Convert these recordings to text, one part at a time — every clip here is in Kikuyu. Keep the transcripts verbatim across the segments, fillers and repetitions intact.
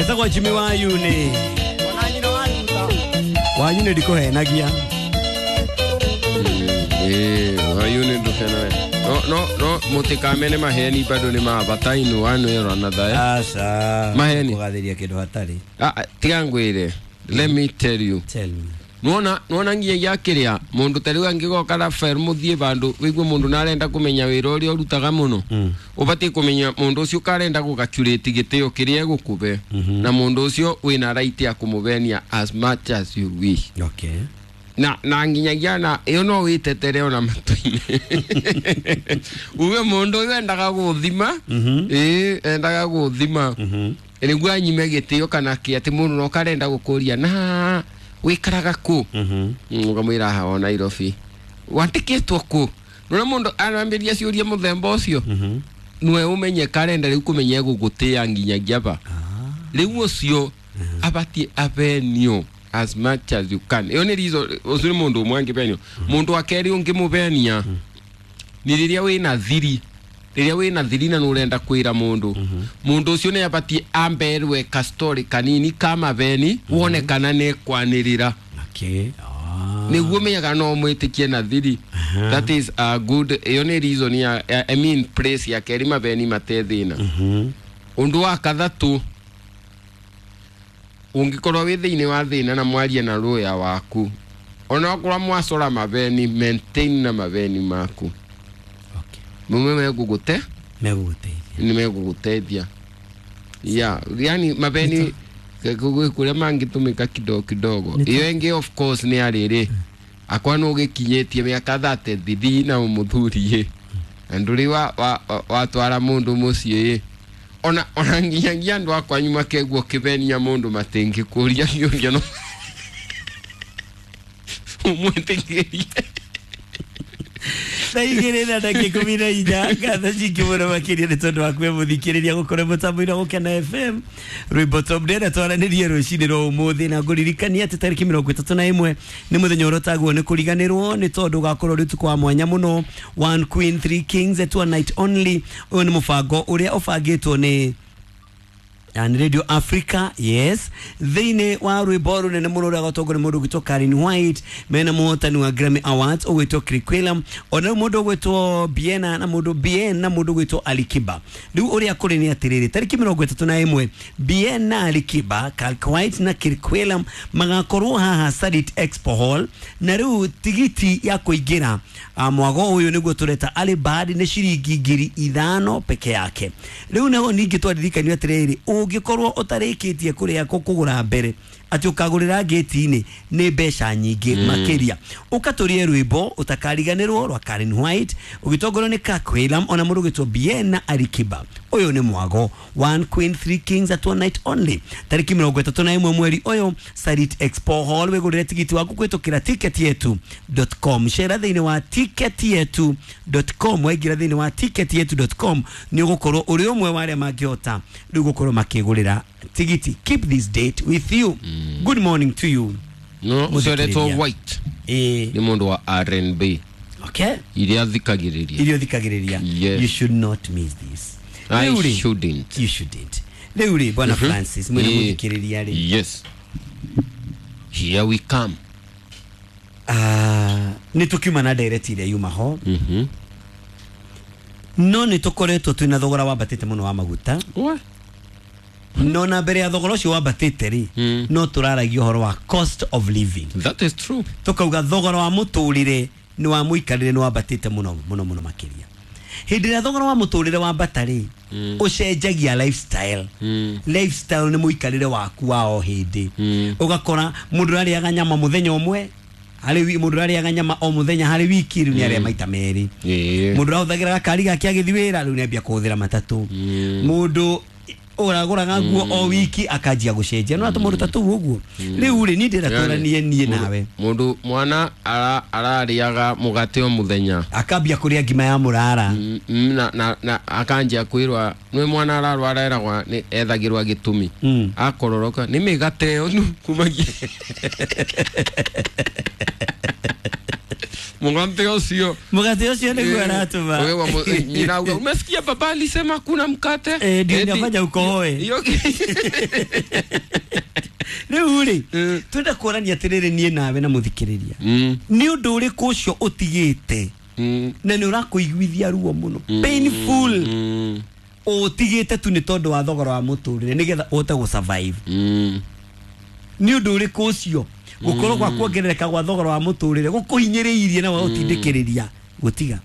Etagwo Jimmy Wayuni. Wayuni ndikuhenagia. Eh, Wayuni nduhenagia. No no no mutikamene maheni bado ni mabata inu wanu yero another. Aca. Maheni. Kugathiria kindu hatari. Ah, tiga ngwire. Let me tell you. Tell me. Nuona nuona nginya kiria mundu tariu angigoka Rafael muthie bandu wigue mundu narenda kumenya wira uria urutaga muno. Mm. Ubatie kumenya mundu ucio karenda gugacurate gitio kiria egukube. Mm -hmm. Na mundu ucio wina right ya kumubenia as much as you wish. Okay. Na na nginyagia na iyo no witetere ona matuine. Uwe mundu uyu endaga guthima. Mm -hmm. Eh, endaga guthima. Mm -hmm. Niguo anyime gitio kana ki ati mundu no karenda gukuria na wikaraga ku. Mhm. Ukamwira ha o Nairobi. Wandikitwo ku. Nona mundu arambiria ciuria muthemba ucio. Mhm. Nwe umenye karenda riu kumenya gugutia nginyagia ba. Ah. Riu ucio abatie avenue as much as you can. Iyo ni reason ucio ni mundu umwe angibenio. Mundu wa keri ungimubenia ni riria wina thiri. Riria wina thiri na nurenda kwira mundu. Mundu ucio ni abatie amberwe ka story kanini kama beni wone kana ne kwanirira. Okay. Ah. Niguo menyaga no mwitikie na thiri. That is a good iyo ni reason ya I mean place ya keri mabeni matethina. Mhm. Undu wa kathatu ungikorwo wi thiini wa thina na mwarie na lawyer waku ona okorwo mwacora mabeni maintain na mabeni maku. Okay. Mume megugute meguguteithia ni meguguteithia yeah yani mabeni kuria mangitumika kidogo kidogo iyo ingi of course ni ariri akwa no gikinyitie miaka thate thithi na umuthuri na nduri wa watwara mundu mucii ona ona nginyagia andu akwa nyuma keguo kibenia mundu matingikuria kiuria no umwitikirie. Thaa igĩrĩ na ndagĩka ikũmi na inya ngatho nyingĩ mũno makĩria nĩ tondũ wa kwĩmũthikĩrĩria gũkorwo mũtambo-inĩ wa Gũkena F M rwĩmbo top ndĩrenda twaranĩrie rũcinĩ rwa ũmũthĩ na ngũririkania atĩ tarĩki mĩrongo ĩtatũ na ĩmwe nĩ mũthenya ũrĩa ũtagwo nĩ kũriganĩrwo nĩ tondũ ũgakorwo ũrĩ ũtukũ wa mwanya mũno. One Queen Three Kings at one night only. Ũyũ nĩ mũbango ũrĩa ũbangĩtwo nĩ and Radio Africa, yes. Thĩinĩ wa rwĩmbo rũnene mũno rũrĩa rwatongorio nĩ mũndũ ũgwĩtwo Karen White mena mũhotani wa Grammy Awards ũgwĩtwo Kirikuelam ona rĩu mũndũ ũgwĩtwo Biena na mũndũ Bien na mũndũ ũgwĩtwo Alikiba. Rĩu ũrĩa kũrĩ nĩ atĩrĩrĩ tarĩki mĩrongo ĩtatũ na ĩmwe Bien na Alikiba, Karen White na Kirikuelam magakorwo haha Sarit Expo Hall na rĩu tigiti ya kũingĩra mwago ũyũ nĩguo tũreta Alibad nĩ ciringi ngiri ithano peke yake. Rĩu naho ningĩ twaririkanio atĩrĩrĩ ungikorwo utarikitie kuria kugura mbere ati ukagurira gate-inĩ nĩ mbeca nyingĩ mm. makiria ukaturie rwimbo utakariganirwo rwa Karen White ugitongorio nĩ Kakwĩlam ona mũndũ ũgwĩtwo Bien na Alikiba. Ũyũ nĩ mwago One Queen Three Kings at one night only tarĩki mĩrongo ĩtatũ na ĩmwe mweri ũyũ Sarit Expo Hall. Wĩgũrĩre tigiti waku kũhĩtũkĩra ticket yetu dot com. Cera thĩinĩ wa ticket yetu dot com. Waingĩra thĩinĩ wa ticket yetu dot com nĩ ũgũkorwo ũrĩ ũmwe wa arĩa mangĩhota rĩu gũkorwo makĩgũrĩra tigiti. Keep this date with you. Mm. Good morning to you. No, ucoretwo White. Eh, ni mundu wa R and B. Okay. Iria thikagiriria. Iria thikagiriria. Yes. You should not miss this. I Rĩu-rĩ, shouldn't. You shouldn't. Rĩu rĩ bwana Mhm. Francis mwena Eh. muthikiriria rĩ. Yes. Here we come. Ah, nĩ tũkiuma na ndereti iria yuma ho. Mhm. No nĩ tũkoretwo twĩna thogora wambatĩte mũno wa maguta. What? No na mbere ya thogora ũcio wambatĩte rĩ Mm. no tũraragia ũhoro wa cost of living. That is true. Tukauga thogora wa mũtũrĩre nĩ wa mũikarĩre nĩ wambatĩte mũno mũno mũno makĩria. Hĩndĩ ĩrĩa thogora wa mũtũrĩre wambata rĩ Mm. ũcenjagia lifestyle. Mm. Lifestyle nĩ mũikarĩre waku wa o hĩndĩ. Mm. Ũgakora mũndũ arĩaga nyama mũthenya ũmwe harĩ wi mũndũ arĩaga nyama o mũthenya harĩ wiki rĩu nĩ arĩa maita merĩ. Yeah. Mũndũ arahũthagĩra gakari gake agĩthiĩ wĩra rĩu nĩ ambia kũhũthĩra matatũ. Mm. Mũndũ ũragũraga nguo o wiki akanjia gũcenjia no atũ mũndũ ta tũu ũguo. Rĩu rĩ niĩ ndĩrenda twaranie niĩ nawe. Mundu mwana ara arariaga mugate o muthenya akambia kũrĩa ngima ya mũrara. Mm, mm, na na, na akanjia kwirwa nĩ mwana ararwara eragwa nĩ ethagirwa gĩtũmi Mm. akororoka nĩ mĩgate ĩyo nu kumagia Mugate ucio Mugate ucio niguo aratuma. Wewe nyina auga umesikia baba alisema kuna mkate? Eh, ndio inafanya ukohoe. Hiyo Rĩu rĩ twenda kuonania atĩrĩrĩ niĩ nawe na mũthikĩrĩria nĩ ũndũ ũrĩkũ ũcio ũtigĩte na nĩ ũrakũiguithia ruo mũno painful ũtigĩte tu nĩ tondũ wa thogora wa mũtũrĩre nĩgetha ũhote gũ survive. Nĩ ũndũ ũrĩkũ ũcio gũkorwo kwa kuongerereka gwa thogora wa mũtũrĩre gũkũhinyĩrĩirie na gũtindĩkĩrĩria gũtiga?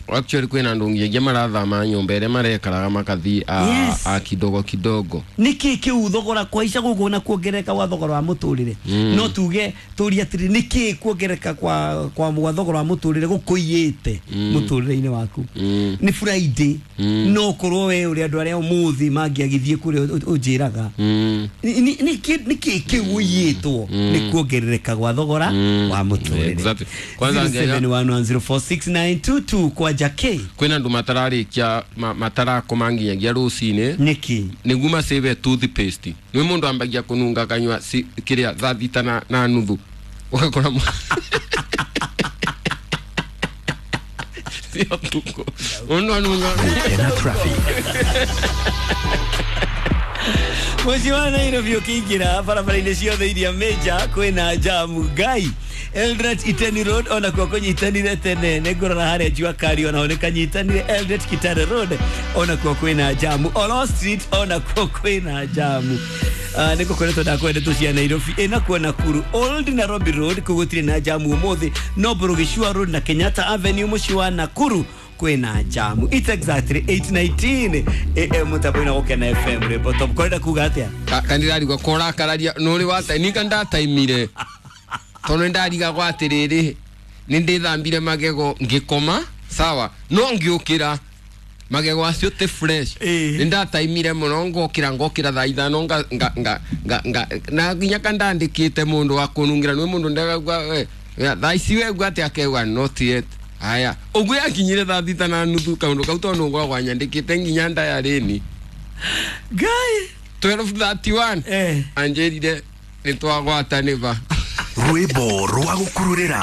Actually kwina andu nginya marathama nyumba ĩrĩa marekaraga makathi a, Yes. a kidogo kidogo niki kiu thogora kwaica gugu na kuongerereka gwa thogora wa muturire mm. no tuge turie atiri niki kuongerereka kwa kwa gwa thogora wa muturire gukuiyite mm. muturire-ini waku mm. ni Friday mm. no korwo we uri andu aria umuthi mangiagithie kuria unjiraga mm. niki niki kiu uyitwo mm. ni kuongerereka gwa thogora mm. wa muturire exactly. Kwanza zero seven one one zero four six nine two two kwa Jake kwina andu matararikia matarakoma nginyagia rucini niki niguo masave toothpaste ni mundu ambagia kununga kanywa si, kiria thaa thita na, na nuthu ugakora sio tuko mundu anunga Tena traffic Muciĩ wa Nairobi ũkĩingĩra barabara-inĩ ciothe iria major kwĩna jamu ngai Eldoret Iteni Road ona kuo kũnyitanire tene nĩngũrora harĩa Jua Kali ona ho nĩkanyitanire Eldoret Kitale Road ona kuo kwĩna jamu Olo Street ona kuo kwĩna jamu uh, nĩngũkoretwo ndakwenda tu cia Nairobi ĩna kuo Nakuru Old Nairobi Road kũu gũtirĩ na jamu ũmũthĩ no Burugishua Road na Kenyatta Avenue mũciĩ wa Nakuru kwĩna jamu. It's exactly eight nineteen A M mutambo-inĩ wa Gũkena F M rwĩmbo top korenda kuga atĩa kandirarigwo korakararia nũrĩ wa nika ndataimire tondu ndarigagwo atiriri ni ndithambire magego ngikoma sawa no ngiukira magego acio ti fresh ni ndataimire muno ngokira ngokira thaa ithano nga nga nga nga na nginya kandandikite mundu wa kunungira ni mundu ndagagwa thaa ici wegua ati akegwa not yet aya uguo yakinyire thaa thita na nuthu kaundu kau tondu ngoragwo nyandikite nginya ndayarĩ ngai twelve thirty-one eh anjirire nitwagwatanĩva rwĩmbo rwa gũkururĩra.